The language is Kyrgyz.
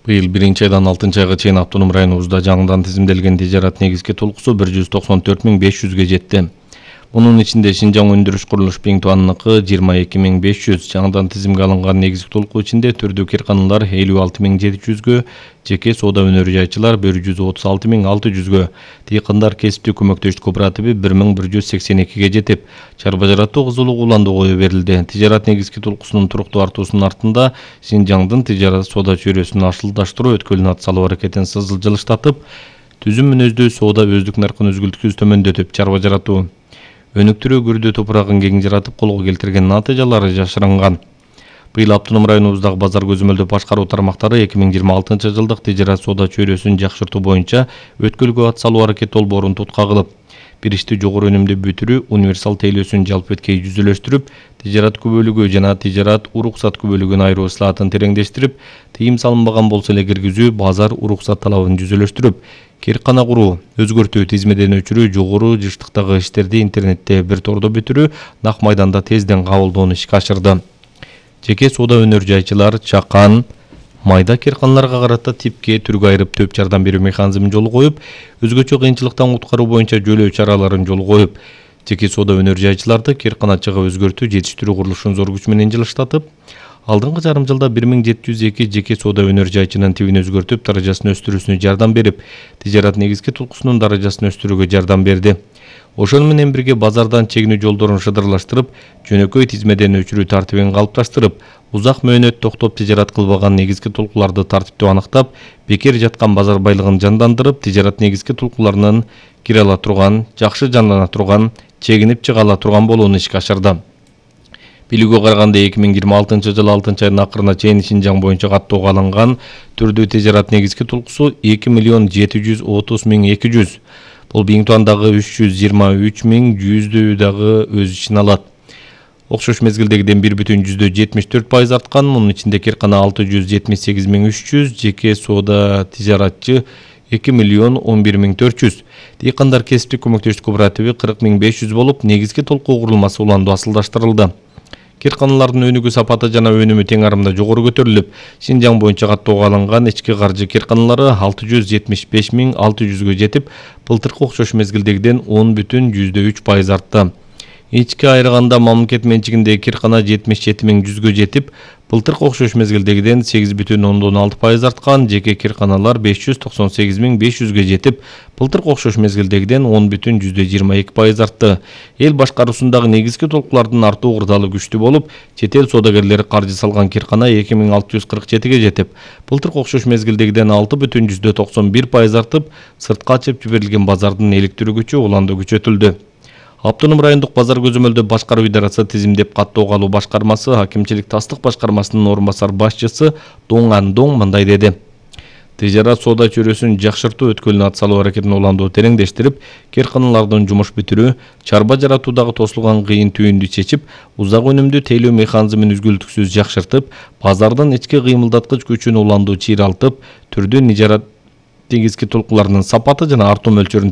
Быйыл 1-айдан 6-айга чейин автоном районубузда жаңыдан тизимделген тижарат негизги толкусу 194.500ге жетти. Мунун ичинде Шинжаң өндүрүш курулуш Биңтуанныкы 22.500, жаңыдан тизимге алынган негизги толкуу ичинде түрдүү кирканалар 56.700гө, жеке соода өнөр жайчылар 136.600гө, дыйкандар кесиптик көмөктөштүк кооперативи 1.182ге жетип, чарба жаратуу кызулук уланды кое берилди. Тижарат негизги толкусунун туруктуу артуусунун артында Шинжаңдын тижарат соода чөйрөсүн ашылдаштыруу өткөлүн ат салуу аракетин жылыштатып, түзүм мүнөздүү соода өздүк наркын үзгүлтүксүз төмөндөтүп, чарба жаратуу өнүктүрүү күрдүү топурагын кең жаратып колго келтирген натыйжалары жашырынган. Быйыл автоном районубуздагы базар көзөмөлдөө башкаруу тармактары 2026 жылдык тижарат соода чөйрөсүн жакшыртуу боюнча өткөлгө ат салуу аракети долбоорун тутка кылып, бир ишти жогору өнүмдүү бүтүрүү универсал тейлөөсүн жалпы эткей жүзүлөштүрүп, тижарат күбөлүгү жана тижарат уруксат күбөлүгүн айыруу ысылатын тереңдештирип, тыйым салынбаган болсо эле киргизүү, базар уруксат талабын жүзүлөштүрүп, киркана куруу, өзгөртүү, тизмеден өчүрүү, жогору жыштыктагы иштерди интернетте бир тордо бүтүрүү, нак майданда тезден кабылдоону ишке ашырды. Жеке соода өнөр жайчылар чакан, майда кирканаларга карата типке түргө айырып төп жардам берүү механизмин жолу коюп, өзгөчө кыйынчылыктан куткаруу боюнча жөлөө чараларын жолу коюп, жеке соода өнөр жайчыларды кирканачыга өзгөртүү, жетиштирүү курулушун зор күч менен жылыштатып, алдыңкы жарым жылда 1702 жеке соода өнөр жайчынын тибин өзгөртүп, даражасын өстүрүүсүнө жардам берип, тижарат негизги толкусунун даражасын өстүрүүгө жардам берди. Ошону менен бирге базардан чегинүү жолдорун шыдырлаштырып, жөнөкөй тизмеден өчүрүү тартибин калыпташтырып, узак мөөнөт токтоп тижарат кылбаган негизги толкууларды тартиптүү аныктап, бекер жаткан базар байлыгын жандандырып, тижарат негизги толкууларынын кире ала турган, жакшы жандана турган, чегинип чыга ала турган болууну ишке ашырды. Билүүгө караганда 2026 жылы 6-айдын акырына чейин Шинжаң боюнча каттоого алынган түрдүү тижарат негизги толкусу 2.730.200. Бул Биңтуандагы 323.100 дагы өз ичине алат. Окшош мезгилдегиден 1,74% арткан, мунун ичинде киркана 678.300, жеке соода тижаратчы 2.011.400. Дыйкандар кесиптик көмөктөштүк кооперативи 40.500 болуп, негизги толкуу курулмасы уланды асылдаштырылды. Кирканалардын өнүгүү сапаты жана өнүмү тең арымда жогору көтөрүлүп, Шинжаң боюнча каттоого алынган ички каржы кирканалары 675.600гө жетип, былтыркы окшош мезгилдегиден 10,3% артты. Ичке айырганда мамлекет менчигиндеги киркана 77.100гө жетип, былтыркы окшош мезгилдегиден 8,6% арткан, жеке кирканалар 598.500гө жетип, былтыркы окшош мезгилдегиден 10,22% артты. Эл башкаруусундагы негизги толкуулардын артуу кырдаалы күчтүү болуп, чет эл соодагерлери каржы салган киркана 2.647ге жетип, былтыркы окшош мезгилдегиден 6,91% артып, сыртка ачып жиберилген базардын иликтирүү күчү уланды күчөтүлдү. Автоном райондук базар көзөмөлдөө башкаруу идарасы тизимдеп каттоого алуу башкармасы Акимчилик тастык башкармасынын орун басар башчысы Доң Андоң мындай деди. Тижарат соода чөйрөсүн жакшыртуу өткөлүн ат салуу аракетин уландуу тереңдештирип, кирканалардын жумуш бүтүрүү, чарба жаратуудагы тосулган кыйын түйүндү чечип, узак өнүмдүү тейлөө механизмин үзгүлтүксүз жакшыртып, базардын ички кыймылдаткыч күчүн уландуу чыйралтып, түрдүү тижарат негизги толкууларынын сапаты жана артуу мөлчөрүн